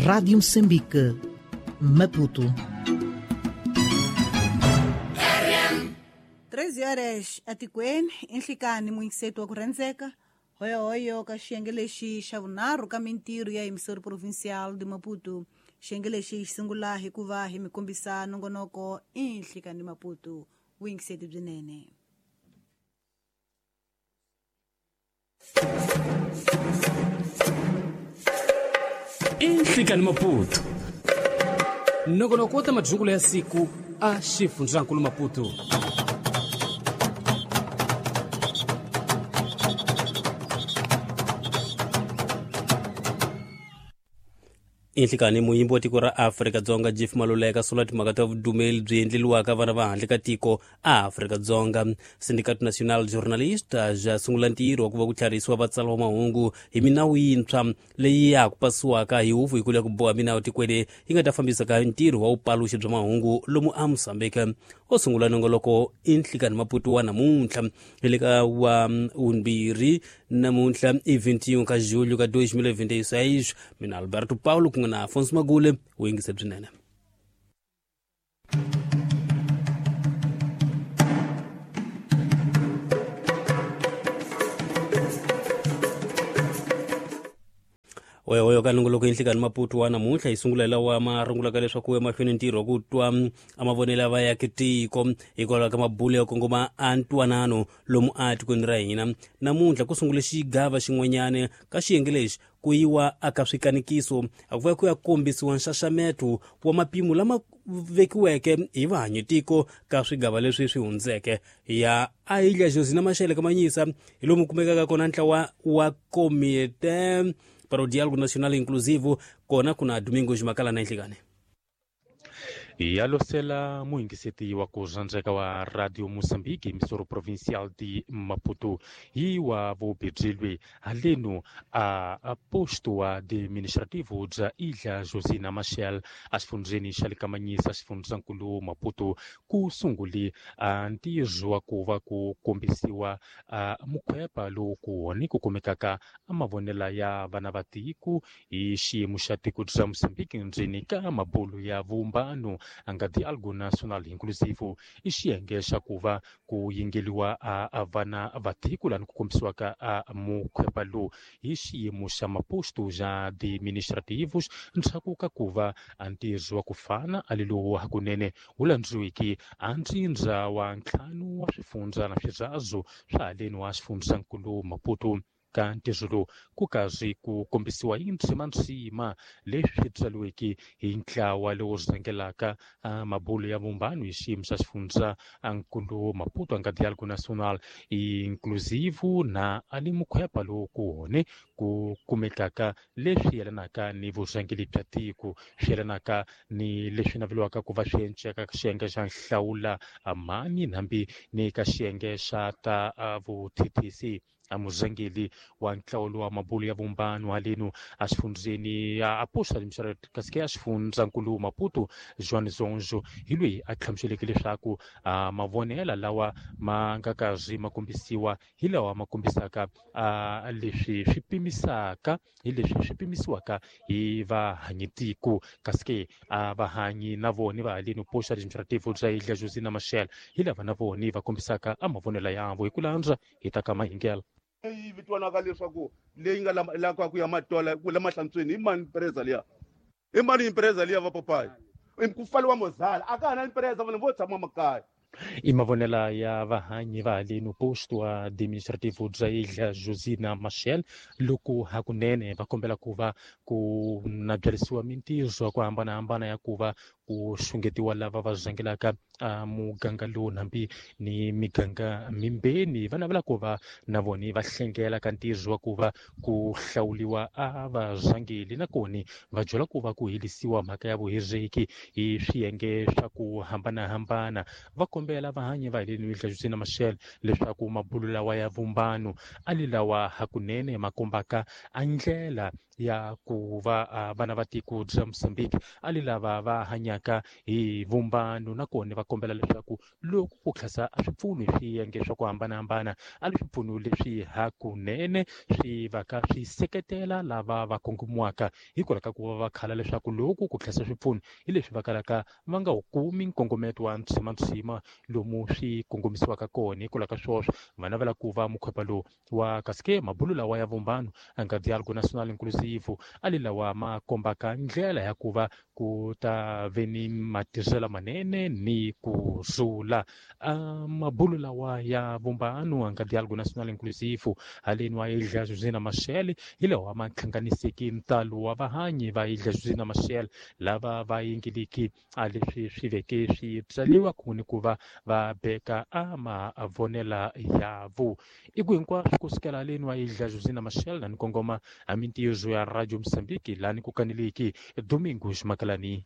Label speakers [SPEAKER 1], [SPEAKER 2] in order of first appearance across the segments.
[SPEAKER 1] Rádio Moçambique, Maputo.
[SPEAKER 2] 13 horas atikweni enhlikani muyingiseti wa ku rhandzeka hoyohoyo ka xiyenge lexi xa vunharhu ka mintirho ya Emissora Provincial de Maputo. Xiyenge lexi xi sungula hi ku va hi mi kombisa nongonoko enhlikani Maputo. Vuyingiseti byinene.
[SPEAKER 3] Inhlikani Maputo nongonoko wa ta madyungulo ya siku a xifundzankulu Maputo.
[SPEAKER 4] Inhlikani muyimbi wa tiko ra Afrika-Dzonga Jeff Maluleka sula timhaka ta vudumeli byi endleliwaka vana va handle ka tiko a Afrika-Dzonga. Sindicato Nacional Jornalista bya sungula ntirho wa ku va ku tlharisiwa vatsari va mahungu hi minawu yintshwa leyi ya ha ku pasiwaka hi huvo yikulu ya ku boha minawu tikweni yi nga ta fambisaka ntirho wa vupaluxi bya mahungu lomu a Mozambique. O sungula nongoloko Inhlikani Maputo wa namuntlha hi le ka wa vumbirhi namuntlha i 21 ka julho ka 2026. Mina Alberto Paulo kun'we na Afonso Magule wu yingise byinene. Oyoyo ka nongoloko Inhlikani Maputo wa namuntlha hi sungula hi lawa ma rungulaka leswaku emahlweni ntirho wa ku twa a mavonelo ya vaaki tiko hikwalaho ka mabulo ya kongoma a ntwanano lomu a tikweni ra hina. Namuntlha ku sungule xigava xin'wanyana ka xiyenge lexi ku yiwa aka swikanikiso a ku va ku ya kombisiwa nxaxameto wa mapimo lama vekiweke hi vahanyi tiko ka swigava leswi swi hundzeke ya a Ilha Josina Machel ka Manyisa hi lomu kumekaka kona ntlawa wa Comité para o Diálogo Nacional Inclusivo kona kuna Domingos Makala na Inhlikani.
[SPEAKER 5] Ya losela muyingiseti wa ku rhandzeka wa Radio Moçambique Emissora Provincial de Maputo hi wa vubebyelwe haleno a posto administrativo bya Ilha Josina Machel a xifundzheni xa le Kamanyisa xifundzankulu Maputo ku sungule a ntirho wa ku va ku kombisiwa a mukhwepa lowu ku hone ku kumekaka a mavonelo ya vana va tiko hi xiyimo xa tiko bya Mozambique ndzeni ka mabulo ya vumbano a nga Diálogo Nacional Inclusivo i xiyenge xa ku va ku yingeliwa a vana va tiko lani ku kombisiwaka a mukhwepa lowu hi xiyimo xa maposto xa administrativos ndzhaku ka ku va a ntirho wa ku fana a le lowu hakunene wu landziweke a ntsindza wa ntlhanu wa swifundza na swirazo swa haleni wa xifundzankulu Maputo. Ka ntirho lowu ku karhi ku kombisiwa hi ndzimandzima leswi tsariweke hi ntlawa lowu rhangelaka mabulo ya vumbano hi xiyimo xa xifundza nkulu Maputo a nga Diálogo Nacional Inclusivo na ali mukhwepa lowu ku hone ku kumekaka leswi yelanaka ni vurhangeri bya tiko swi yelanaka ni leswi naveliwaka ku va swi enceka ka xiyenge xa nhlawula mani hambi ni ka xiyenge xa ta vuthethisi. A murhangeri wa ntlawulo wa mabulo ya vumbano haleno a xifundzeni a posta kasi ke a xifundzankulu Maputo Joan Zonzo hi loyi a hlamuseleke leswaku mavonelo lawa ma nga karhi ma kombisiwa hi lawa ma kombisaka leswi swi pimisaka hi leswi swi pimisiwaka hi vahanyitiko kasi ke a vahanyi na vona va haleno posta administrativo bya Ilha Josina Machel hi lava na vona va kombisaka a mavonelo yavo hi ku landza hi ta ka mahingela
[SPEAKER 6] leyi vitwanaka leswaku leyi nga laka ku ya matola ku la mahlantsweni i mani impresa liya i mani impresa liya va papayi ku pfaliwa mozala a ka ha na impresa vanhu vo tshama makaya.
[SPEAKER 5] I mavonelo ya vahanyi va haleno posto administrativo bya Ilha Josina Machel loko hakunene va kombela ku va ku na byarisiwa mintirho ya ku hambanahambana ya ku va ku xungetiwa lava va rhangelaka muganga lowu hambi ni miganga mimbeni va navela ku va na vona va hlengela ka ntirho wa ku va ku hlawuliwa a varhangeli nakona va byela ku va ku herisiwa mhaka ya vuhiriki hi swiyenge swa ku hambanahambana. Va kombela vahanyi va haleni Ilha Josina Machel leswaku mabulo lawa ya vumbano a li lawa hakunene ma kombaka a ndlela ya ku va vana va tiko bya Mozambique a li lava va hanyaka. hanyaka hi vumbano nakona va kombela leswaku loko ku tlhasa a swipfuno hi swiyenge swa ku hambanahambana a li swipfuno leswi hakunene swi va ka swi seketela lava va kongomiwaka hikwalaho ka ku va va khala leswaku loko ku tlhasa swipfuno hi leswi va kalaka va nga wu kumi nkongometo wa ntshimantshima lomu swi kongomisiwaka kona. Hikwalaho ka swoswo va navela ku va mukhwepa lowu wa kasi ke mabulu lawa ya vumbano a nga dialogue national inclusive a li lawa ma kombaka ndlela ya ku va ku ta ve ni matirhiselo manene ni ku rhula. Mabulu lawa ya vumbano a nga dialogue national inclusive haleni wa Ilha Josina Machel hi lawa ma hlanganiseki ntalo wa vahanyi va Ilha Josina Machel lava va yingiliki a leswi swi veke swi byaliwa kun'we ni ku va va beka a mavonela ya vo. I ku hinkwaswo kusukela haleni wa Ilha Josina Machel na ni kongoma a mintirho ya Radio Mozambique lani ku kaneleki Domingos Makalani.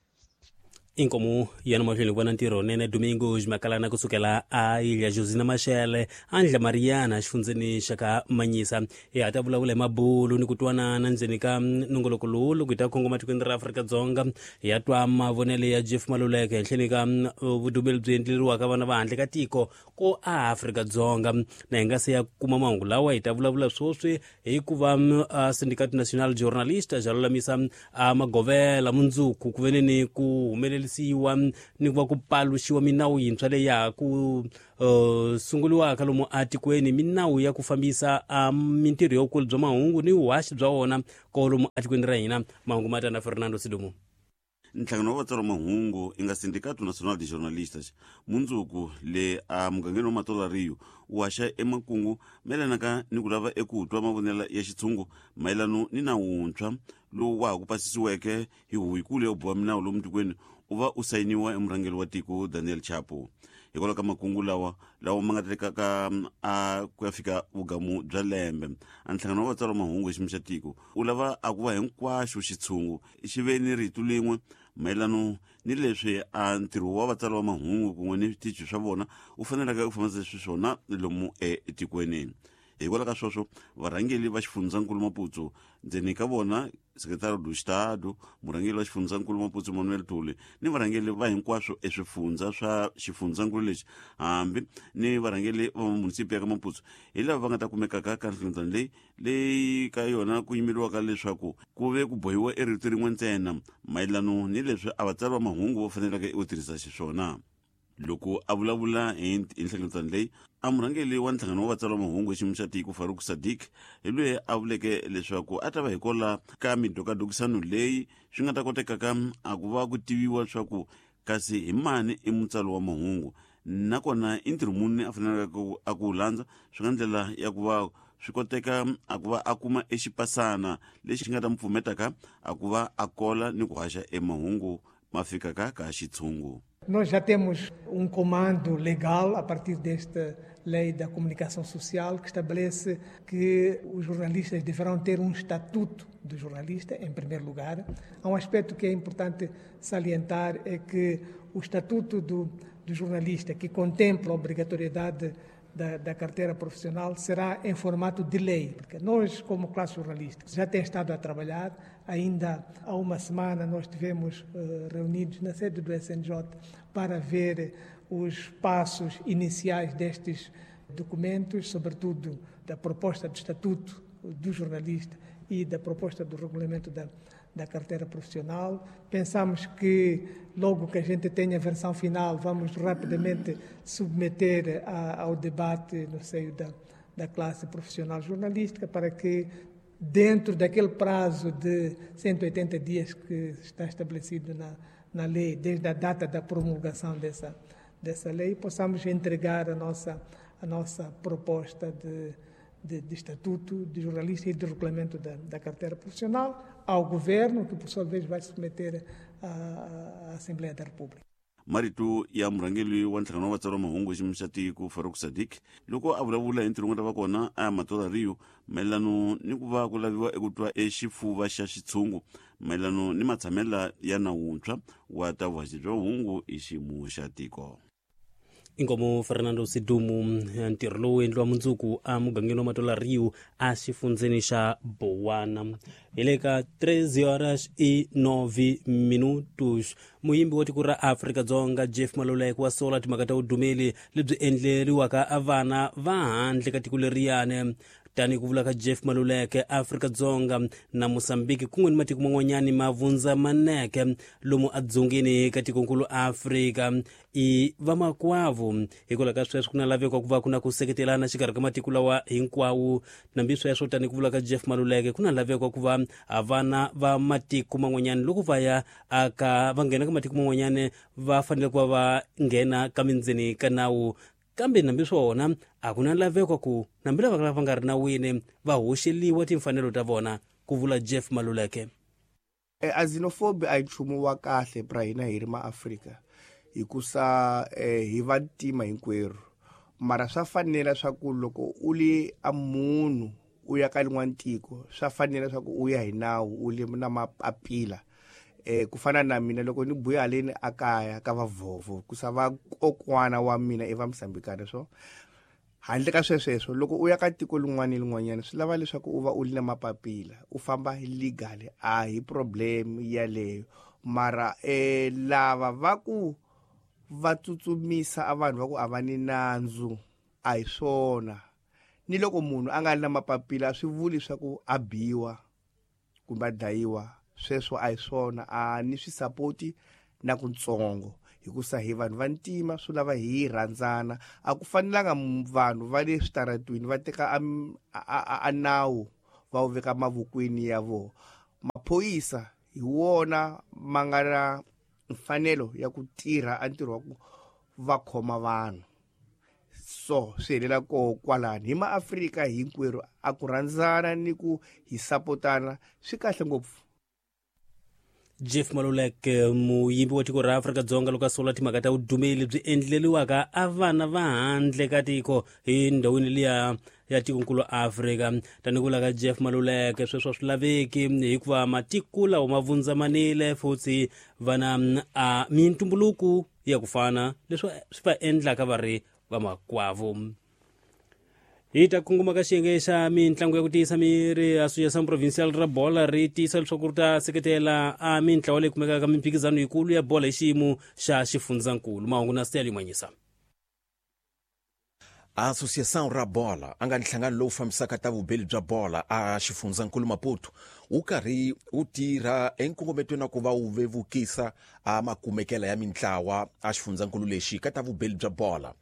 [SPEAKER 4] Inkomu yana mahlweni ku va na ntirho nene Domingos Makalana kusukela a Ilha Josina Machel Andla Mariana xifundzeni xa ka Manyisa. Hi ha ta vulavula hi mabulu ni ku twanana ndzeni ka nongoloko lowu loko hi ta kongoma tikweni ra Afrika-Dzonga. Hi ya twa mavonelo ya Jeff Maluleke henhleni ka vudumeli byi endleriwaka vana va handle ka tiko ko a Afrika-Dzonga. Na hi nga se ya kuma mahungu lawa hi ta vulavula swoswi hikuva Sindicato Nacional Jornalista ja lulamisa magovela mundzuku ku vene ni ku humelerisiwa ni ku va ku paluxiwa minawu yintshwa leyi ya ha ku sunguriwaka lomu atikweni, minawu ya ku fambisa mintirho ya vukulu bya mahungu ni vuhaxi bya wona kolomu atikweni ra hina. Mahungu ma ta na Fernando Sidumo.
[SPEAKER 7] Nhlangano wa vatsari mahungu i nga Sindicato Nacional de Jornalistas mundzuku le a mugangeni wa Matola Rio wu haxa emakungu mayelanaka ni ku lava eku twa mavonelo ya xitshungu mayelano ni nawu wuntshwa lowu wa ha ku pasisiweke hi huvo yikulu ya ku boha minawu lomu tikweni u va u sayiniwa emurhangeri wa tiko Daniel Chapo. Hikwalaho ka makungu lawa lawa ma nga tekaka a ku ya fika vugamu bya lembe, a nhlangano wa vatsari mahungu hi xiyimo xa tiko u lava a ku va hinkwaxo xitshungu xi ve ni rito lin'we mayelano ni leswi a ntirho wa vatsari va mahungu kun'we ni switichi swa vona wu faneleke ku fambisa xiswona lomu etikweni. Hikwalaho ka sweswo varhangeri va xifundzankulu Maputo ndzeni ka vona Secretario do Estado, murhangeri wa xifundzankulu Maputo Manuel Tuli ni varhangeri va hinkwaswo eswifundza swa xifundzankulu lexi hambi ni varhangeri va munisipi ya ka Maputo hi lava va nga ta kumekaka ka nhlengeletano leyi leyi ka yona ku yimeriwaka leswaku ku ve ku bohiwa erito rin'we ntsena mayelano ni leswi a vatsari va mahungu va faneleke u tirhisa xiswona. Loko a vulavula hi nhlengeletano leyi, a murhangeri wa nhlangano wa vatsari va mahungu hi xiyimo xa tiko Farouk Sadik hi loyi a vuleke leswaku a ta va hikwalaho ka midokadokisano leyi swi nga ta kotekaka a ku va ku tiviwa leswaku kasi hi mani i mutsari wa mahungu nakona i ntirho muni a faneleke a ku wu landza, swi nga ndlela ya ku va swi koteka a ku va a kuma exipasana lexi nga ta mu pfumetaka a ku va a kola ni ku haxa emahungu ma fikaka ka xitshungu.
[SPEAKER 8] Nós já temos um comando legal a partir desta lei da comunicação social que estabelece que os jornalistas deverão ter um estatuto do jornalista, em primeiro lugar. Há um aspecto que é importante salientar, é que o estatuto do jornalista, que contempla a obrigatoriedade da carteira profissional, será em formato de lei, porque nós, como classe jornalista, já tem estado a trabalhar. Ainda há uma semana nós estivemos reunidos na sede do SNJ para ver os passos iniciais destes documentos, sobretudo da proposta do Estatuto do Jornalista e da proposta do regulamento da carteira profissional. Pensamos que logo que a gente tenha a versão final, vamos rapidamente submeter ao debate no seio da classe profissional jornalística, para que dentro daquele prazo de 180 dias que está estabelecido na lei, desde a data da promulgação dessa lei, possamos entregar a nossa proposta de estatuto de jornalista e de regulamento da carteira profissional ao governo, que por sua vez vai submeter à Assembleia da República.
[SPEAKER 7] Marito ya murhangeri wa nhlangano wa vatsari va mahungu hi xiyimo xa tiko Farouk Sadik loko a vulavula hi ntirho wu nga ta va kona a Matola Rio mayelano ni ku va ku laviwa eku twa exifuva xa xitshungu mayelano ni matshamela ya nawuntshwa wa ta vuhaxi bya mahungu hi xiyimo xa tiko.
[SPEAKER 4] Inkomo Fernando Sidumu. Ntirho lowu endliwa mundzuku emugangeni wa Matola Rio exifundzeni xa Bowana. Hi le ka 3 horas e 9 minutos. Muyimbi wa tiko ra Afrika-Dzonga Jeff Maluleke wa sola timhaka ta vudumeli lebyi endleriwaka vana va handle ka tiko leriyani. Tanihi ku vula ka Jeff Maluleke, Afrika-Dzonga na Mozambique kun'we ni matiko man'wanyani ma vundzamaneke lomu edzongeni ka tikonkulu Afrika i vamakwavo. Hikwalaho ka sweswo ku na laveko ku va ku na ku seketelana xikarhi ka matiko lawa hinkwawo. Nambi sweswo, tanihi ku vula ka Jeff Maluleke, ku na laveko ku va vana va matiko man'wanyani loko va ya aka va nghena ka matiko man'wanyani va fanele ku va va nghena ka mindzeni ka nawu. Kambe nambi swona a ku na laveko ku nambi lava va nga ri nawini va hoxeliwa timfanelo ta vona, ku vula Jeff Maluleke.
[SPEAKER 9] A xenophobia a hi nchumu wa kahle pra hina hi ri maAfrika, hikusa hi vantima hinkwerhu. Mara swa fanela swa ku loko u li a munhu u ya ka lin'wana tiko, swa fanela swa ku u ya hi nawu, u li na mapapila. Ku fana na mina loko ni buya haleni a kaya ka vavhovho, ku sa va kokwana wa mina i va Mozambikana. So handle ka swesweswo, loko u ya ka tiko lin'wana ni lin'wanyana swi lava leswaku u va u ri na mapapila, u famba legal, a hi problem yaleyo. Mara lava va ku va tsutsumisa a vanhu va ku a va ni nandzu, a hi swona. Ni loko munhu a nga ri na mapapila a swi vuli swa ku a biwa kumbe a dlayiwa, sweswo a hi swona. A ni swi sapoti na kutsongo, hikusa hi vanhu va ntima, swi lava hi rhandzana. A ku fanelanga vanhu va le switaratwini va teka a nawu va wu veka mavokweni ya vona. Maphorisa hi wona ma nga na mfanelo ya ku tirha a ntirho wa ku va khoma vanhu. So swi helela koho kwalani. Hi maAfrika hinkwerhu a ku rhandzana ni ku hi sapotana swi kahle ngopfu.
[SPEAKER 4] Jeff Maluleke, muyimbi wa tiko ra Afrika-Dzonga, loko a sola timhaka ta vudumeli lebyi endleriwaka a vana va handle ka tiko hi ndhawini liya ya tikonkulu Afrika. Tanihi ku vula ka Jeff Maluleke, sweswo a swi laveki hikuva matiko lawa ma vundzamanile futhi va na a mintumbuluko ya ku fana, leswi swi va endlaka va ri vamakwavo. Hi ta kongoma ka xiyenge xa mitlangu ya ku tiyisa miri. Associação Provincial ra Bola ri tiyisa leswaku ri ta seketela a mintlawa leyi kumekaka ka mimphikizano yikulu ya bola hi xiyimo xa xifundzankulu. Mahungu na Steli Manyisa.
[SPEAKER 10] Associação ra Bola a nga nhlangano lowu fambisaka ta vubeli bya bola a xifundzankulu Maputo wu karhi wu tirha enkongometweni wa ku va wu vevukisa a makumekela ya mintlawa a xifundzankulu lexi ka ta vubeli bya bola.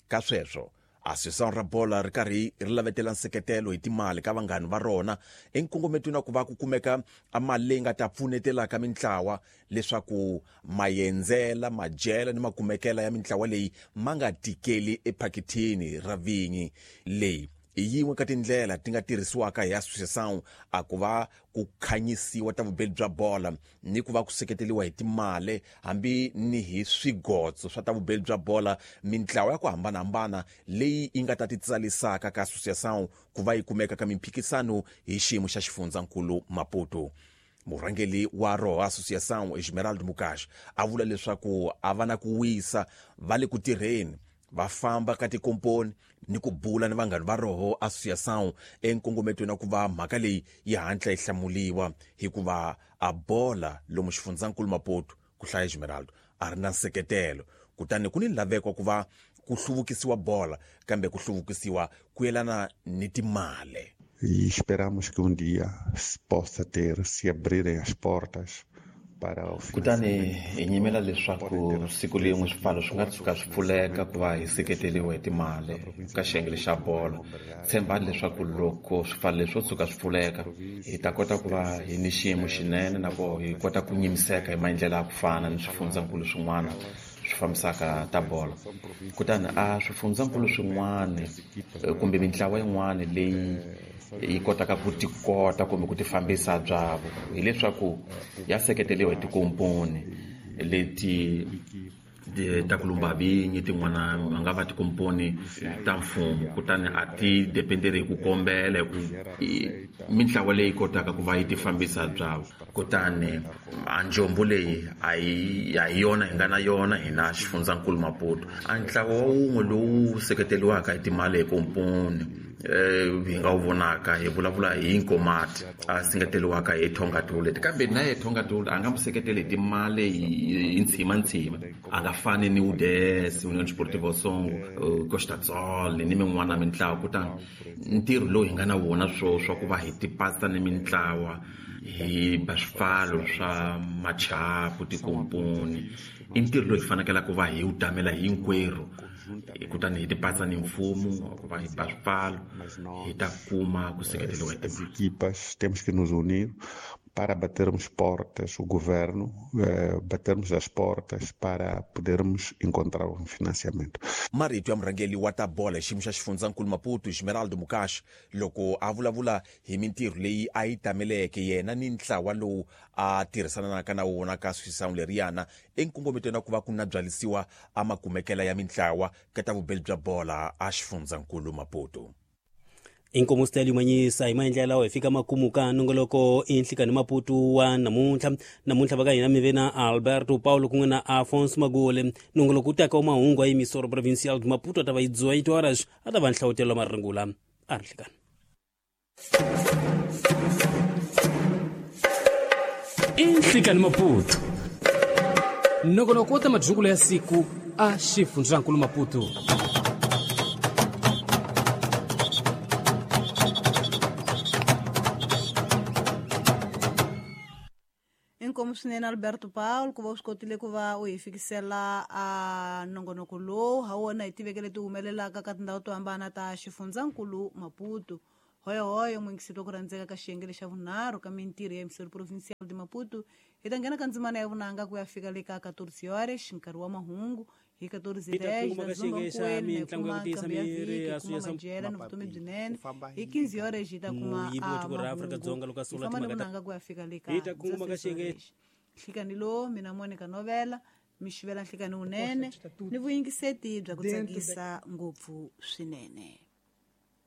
[SPEAKER 10] Ka sweswo Associação ra Bola ri karhi ri lavetela nseketelo hi timali ka vanghani va rona enkongometweni wa ku va ku kumeka a mali leyi nga ta pfunetelaka mintlawa leswaku maendzela, madyela ni makumekela ya mintlawa leyi ma nga tikeli ephakithini ra vinyi. Leyi hi yin'we ka tindlela ti nga tirhisiwaka hi associação a ku va ku khanyisiwa ta vubeli bya bola ni ku va ku seketeliwa hi timali hambi ni hi swigotso swa ta vubeli bya bola mintlawa ya ku hambanahambana leyi yi nga ta ti tsalisaka ka associação ku va yi kumeka ka mimphikisano hi xiyimo xa xifundzankulu Maputo. Murhangeri wa roho associação Esmeraldo Mukash a vula leswaku a va na ku wisa, va le ku tirheni, va famba ka tikomponi ni ku bula ni vanghani va roho associação enkongometweni wa ku va mhaka leyi yi hatla yi hlamuliwa, hikuva a bola lomu xifundzankulu Maputo, ku hlaya Esmeraldo, a ri na nseketelo. Kutani ku ni laveko ku va ku hluvukisiwa bola, kambe ku hluvukisiwa ku yelana ni timali.
[SPEAKER 11] E esperamos que um dia se possa ter, se abrirem as portas para o
[SPEAKER 12] Kutani hi nyimela leswaku siku lin'we swipfalo swi nga tshuka swi pfuleka ku va hi seketeriwa hi timali ka xiyenge xa bolo. Tshembani leswaku loko swipfalo leswi swo tshuka swi pfuleka, hi ta kota ku va hi ni xiyimo xinene na ku hi kota ku nyimiseka hi maendlelo ya ku fana ni swifundzankulu swin'wana swi fambisaka ta bolo. Kutani a swifundzankulu swin'wana kumbe mintlawa yin'wana leyi yi kotaka ku tikota kumbe ku tifambisa byavo, hileswaku ya seketeriwa hi tikomponi leti ta ku lumba vinyi, tin'wana va nga va tikomponi ta mfumo, kutani a ti dependeri hi ku kombela hi ku mintlawa leyi kotaka ku va yi ti fambisa byavo. Kutani a njombo leyi a hi yona hi nga na yona hina xifundzankulu Maputo. A ntlawa wa wun'we lowu seketeriwaka hi timali hi komponi hi nga wu vonaka hi vulavula hi Nkomati a singeteriwaka hi Tonga Toilet, kambe na ye Tonga Toilet a nga mu seketeli hi timali hi ntshima a nga fani ni UDS, Union Sportiva Songo, Costa Sol ni min'wana mintlawa. Kutani ntirho lowu hi nga na wona swa ku va hi tipasa ni mintlawa hi ba swipfalo swa machapu tikomponi i ntirho lowu hi fanekele ku va hi wu tamela hinkwerhu, kutani hi tipasa ni mfumo ku va hi ba swipfalo hi ta kuma ku seketeriwa hi
[SPEAKER 11] As equipas temos que nos unir para batermos portas, o governo, batermos as portas para podermos encontrar um financiamento.
[SPEAKER 10] Marito ya murhangeri wa ta bola hi xiyimo xa xifundzankulu Maputo Esmeraldo Mukashi loko a vulavula hi mintirho leyi a yi tameleke yena ni ntlawa lowu a tirhisanaka na wona ka swisangu leriyana enkongometweni wa ku va ku na byalisiwa a makumekela ya mintlawa ka ta vubeli bya bola a xifundzankulu Maputo.
[SPEAKER 4] Inkomo style manyisa hi maendlela lawa hi fika makumu ka nongoloko enhlikani Maputo wa namuntlha va ka hina mi ve na Alberto Paulo kun'we na Afonso Magole. Nongoloko wu taka wa mahungu a Emissora Provincial de Maputo a ta va yi 18 horas a ta va nhlawutelo marungula a ri nhlikani.
[SPEAKER 3] Inhlikani Maputo, nongonoko wa ta madyungulo ya siku a xifundzankulu Maputo.
[SPEAKER 2] Inkomu swinene Alberto Paulo ku va u swi kotile ku va u hi fikisela a nongonoko lowu ha wona hi tiveke leti humelelaka ka tindhawu to hambana ta xifundzankulu Maputo. Hoyohoyo muyingiseri wa ku rhandzeka ka xiyenge lexa vunharhu ka mintirho ya Emissora Provincial de Maputo, hi ta nghena ka ndzimana ya vunanga ku ya fika le ka 14 horas nkarhi wa mahungu hi 14:10 ta dzumba nkuweni hi kuma nqambi ya vhiki hi kuma madyela ni vutomi byinene hi 15 horas hi ta kuma mahungu hi famba ni vunanga ku ya fika le ka 16 horas. Nhlikani lowu mina Monica Novela mi xivela nhlikani wunene ni vuyingiseti bya ku tsakisa ngopfu swinene.